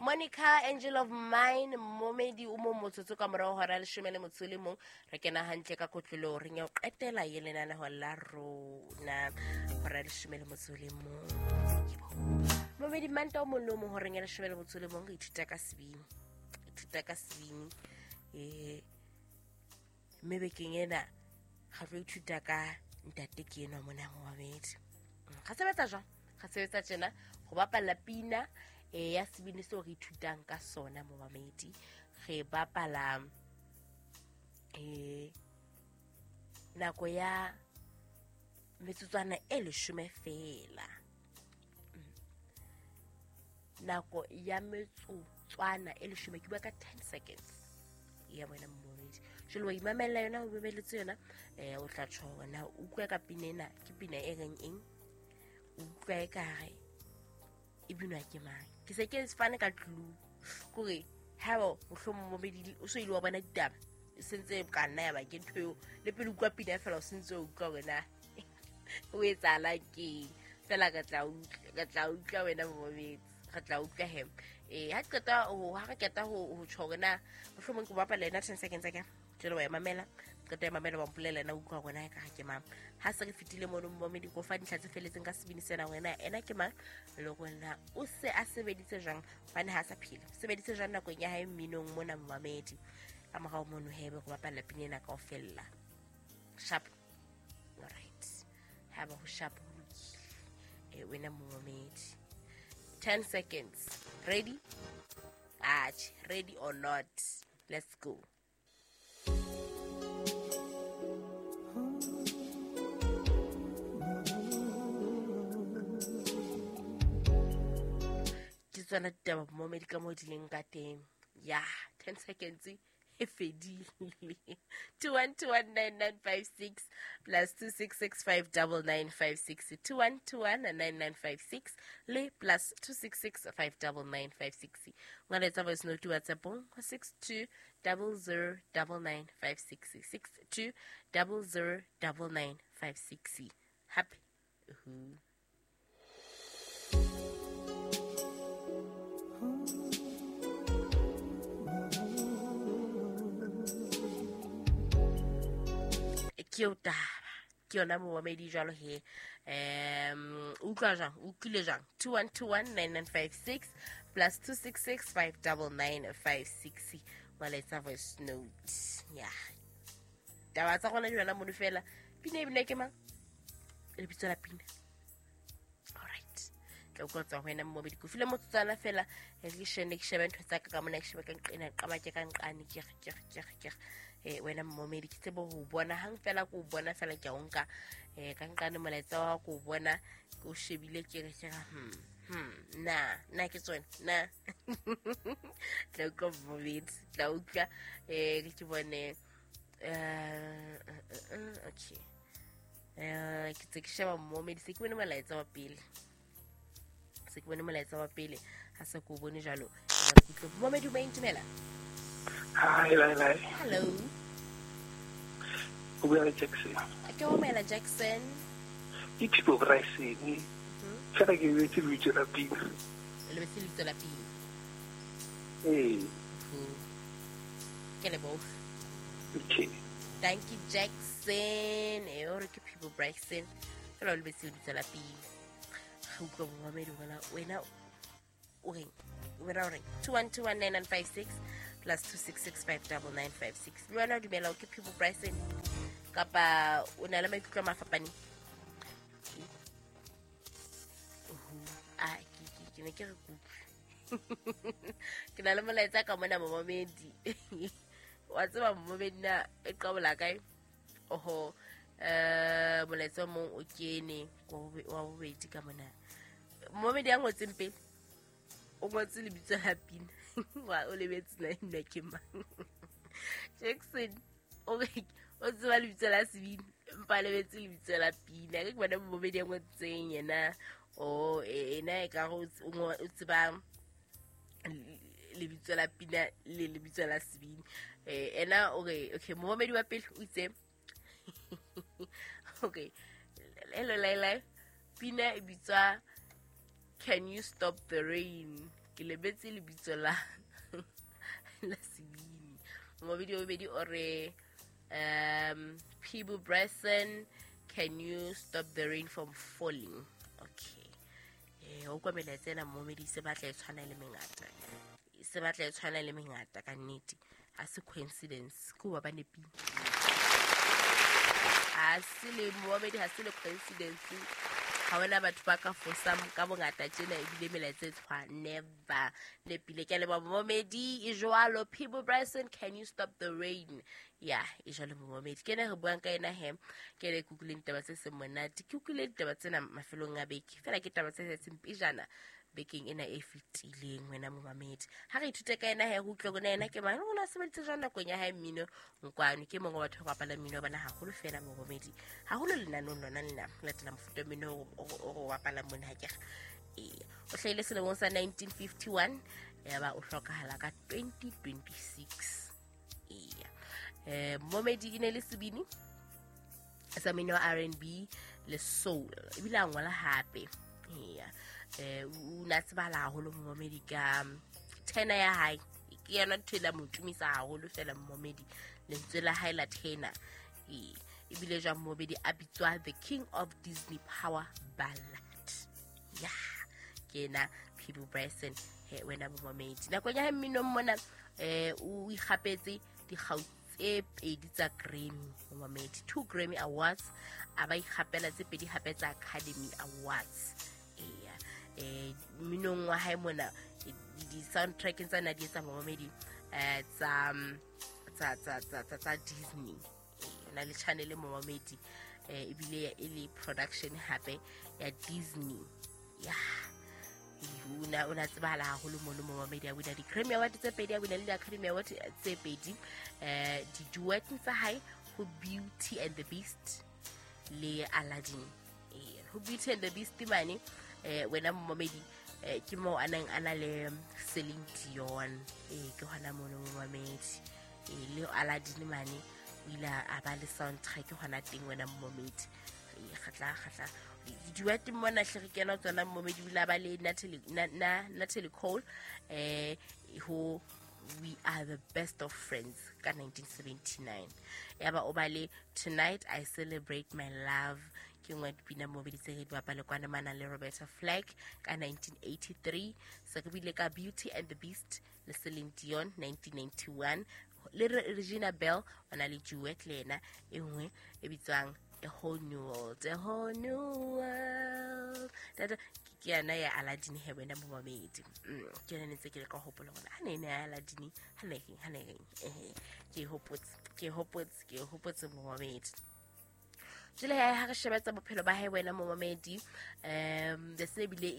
Monica, Angel of Mine, momedi o mong motsotso ka morao hora 11, re kena hantle ka kotlolo re nya qetela ye lenaneho la rona hora 11. Momedi manta o mong le o mong horeng ya 11 re ithuta ka sebini. Ithuta ka sebini. Mme bekeng ena ga tlo ithuta ka ntate ke enwa mona momedi. Ga sebetsa jwang? Ga sebetsa tjena go bapala pina ya sebini seo re ithutang ka sona momamedi. Re bapala nako ya metsotswana e 10 fela. Nako ya metsotswana e 10, ke bua ka 10 seconds ya wena momamedi. Jwale wa imamella yona, o mameletse yona, o tla tjho hore na o utlwa ka pina ena ke pina e reng eng, o utlwa e kare e binwa ke mang. Ke se ke fane ka clue kore haeba mohlomong momedi o so ile wa bona ditaba e sentse ka nna ya ba ke ntho eo le pele utlwa pina fela o sentse o utlwa hore na o etsahalang keng. Fela re tla utlwa wena momedi, re tla utlwa he. Ha qeta ho ha re qeta ho tjho hore na mohlomong ke bapala yena 10 seconds akere. Jwale wa e mamela, qeta e mamela wa mpolela na utlwa hore na e ka ke mang. Ha se re fetile mono momedi go fa dintlha tse feletseng ka sebini sena hore na ena ke mang le hore na o se a sebeditse jwang, hobane ha sa phela. Sebeditse jwang nakong ya hae mminong mona momamedi. Ka morao mono hebe go bapala pina ena kaofela. Sharp. Alright. Ha ba ho sharp ho lokile. Wena momamedi. 10 seconds. Ready? Atjhe, ready or not. Let's go. Ke tsona ditaba momedi ka moo di leng ka teng. Ya, 10 seconds e fedile. 21219956 plus 26659956, 21219956 le plus 26659956. Ngwaletsa voice note WhatsApp 62009956, 62009956. Happy. Ke o taba ke yona momamedi jwalo he. Utlwa jwang, utlwile jwang? 21219956 plus 26659956. Ngwaletsa voice note. Ya taba tsa rona di yona mono fela. Pina e bina ke mang? Lebitso la pina. Alright, tla utlwa tswa ho wena momamedi. Ke file motsotswana fela ke shene ke shebe ntho tsa ka mona, ke shebe ka nqena qama ke ka nqane ke re wena momedi ke tsebe ho bona hang fela, ko bona fela ke a o nka ka nqane molaetsa wa ko bona ke o shebile ke re na ke tsone na. Tla utlwa momedi, tla utlwa ke bone okay. Ke tse ke sheba momedi, se ke bone molaetsa wa pele, se ke bone molaetsa wa pele ha se ko bone jwalo. Momedi o maintumela. Hi, Lai. Hello. O bua le Jackson. Ke o mela Jackson. Ke People Bryson. Fela ke lebetse lebitso la pina. Lebetse lebitso la pina. Ee. Ke leboga. Okay. Thank you Jackson. O re ke People Bryson. Fela o lebetse lebitso la pina. Ga utlwa momamedi wena o reng? Wena o reng? 21219956 plus 26659956. Le wena o dumela o ke People Bryson kapa o na le maikutlo a mafapaneng? Ke ne ke re kutlwe. Ke na le molaetsa ka mona momamedi. Wa tseba momamedi na e qabola kae? Oho, molaetsa o mong o kene wa bobedi ka mona. Momamedi ya ngotseng pele o ngotse lebitso la pina. Wa o lebetse na nna ke mang. Jackson o tseba lebitso la sebini empa lebetse lebitso la pina. Ke bona momedi ya ngotseng yena o ena e ka o tseba lebitso la pina le lebitso la sebini. Ena o re okay, momedi wa pele o itse okay, hello Laila, pina e bitswa Can You Stop the Rain. Ke lebetse lebitso la la sebini. Momamedi wa bobedi o re, Peabo Bryson, can you stop the rain from falling? Okay. O kwa melaetsa ena momamedi, se batla e tshwana le mengata, se batla e tshwana le mengata ka nnete. Ha se coincidence, ke hoba ba nepile. Ha se le momamedi, ha se le coincidence. Ha hona batho ba ka fosang ka bongata tjena ebile melaetsa e tshwana. Never. Nepile. Ke a leboha momamedi. E jwalo, Peabo Bryson, can you stop the rain? Ya, e jwalo momamedi. Ke ena re buang ka ena he. Ke ena e ke utlwileng ditaba tse seng monate. Ke utlwile ditaba tsena mafelong a beke. Feela ke taba tse setseng pejana bekeng ena e fetileng wena momamedi. Ha re ithute ka ena he, re utlwe hore na ena ke mang, o na sebeditse jwang nakong ya hae mmino nkwano. Ke mongwe wa batho ba bapalang mmino wa bona haholo fela momamedi. Haholo lenanong lona lena, ho latela mofuta wa mmino o re o bapalang mona ha ke re. Ee, o hlahile selemong sa 1951, yaba o hlokahala ka 2026. Eya. Momamedi e ne le sebini sa mmino wa R&B le soul, ebile a ngola hape. Eya. O na tsebahala haholo momamedi ka tenor ya hae. Ke yona ntho e la mo tumisa haholo fela momamedi, lentswe la hae la tenor. Ee, ebile jwang momamedi a bitswa the King of Disney Power Ballad. Ya, ke ena Peabo Bryson he wena momamedi. Nakong ya hae mminong mona, o ikgapetse dikgau tse pedi tsa Grammy momamedi, 2 Grammy Awards, a ba ikgapela tse pedi hape tsa Academy Awards. Eya, mminong wa hae mona, di-soundtrackeng tsa na di etsa momamedi, tsa Disney. O na le channel momamedi, ebile e le production hape ya Disney. Ya, o na tsebahala haholo mono momamedi. A wina di-Grammy Award tse pedi, a wina le di-Academy Award tse pedi. Di-duet tsa hae ho Beauty and the Beast le Aladdin. Ho Beauty and the Beast mane, wena momamedi, ke moo a neng a na le Celine Dion. Ke hona mono momamedi. Le Aladdin mane o ile a ba le soundtrack hona teng wena momamedi. Kgatla kgatla di-duet mona hle re kena tsona momamedi. O ile a ba le Natalie Cole ho We Are the Best of Friends ka 1979. Yaba o ba le Tonight I Celebrate My Love, ke nngwe ya dipina momamedi tse re di bapale kwana mana le Roberta Flack ka 1983. Se re bile ka Beauty and the Beast le Celine Dion 1991, le Regina Belle o na le duet le ena e nngwe e bitswang A Whole New World, A Whole New World. Tata, ke yona ya Aladdin he wena momamedi. Ke yona ne ntse ke le ka hopola hore ha ne ne ya Aladdin, ha ne reng, ha ne reng. Ehe, ke e hopotse, ke e hopotse, ke e hopotse momamedi. Jwale ha re shebetsa bophelo ba hae wena momamedi, the se bile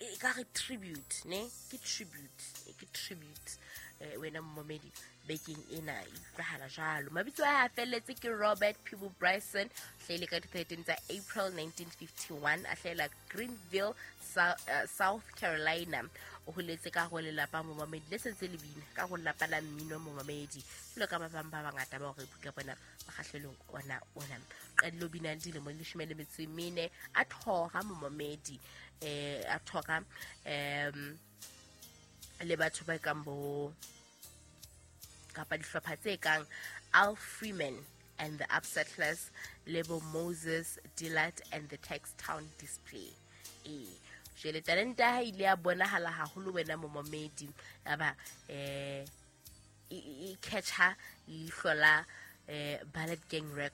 e ka re tribute, ne? Ke tribute, ke tribute, wena momamedi bekeng ena e utlwahala jwalo. Mabitso a hae a felletse ke Robert Peabo Bryson, hlahile ka di-13 tsa April 1951, a hlahela Greenville, South Carolina. O holetse ka ho lelapa momamedi le sentse le bina ka ho lelapa la mmino momamedi, jwalo ka ba bang ba bangata ba hore buka bona mokgahlelong ona ona. Qadile ho bina le dilemo di 14, a thora momamedi, a thora le batho ba kang bo kapa dihlopha tse kang Al Freeman and the Upsettlers le bo Moses Dillard and the Tex Town Display. Jwale talente ya hae ile ya bonahala haholo wena momamedi, yaba e catcha leihlo la Ballet Gang Records.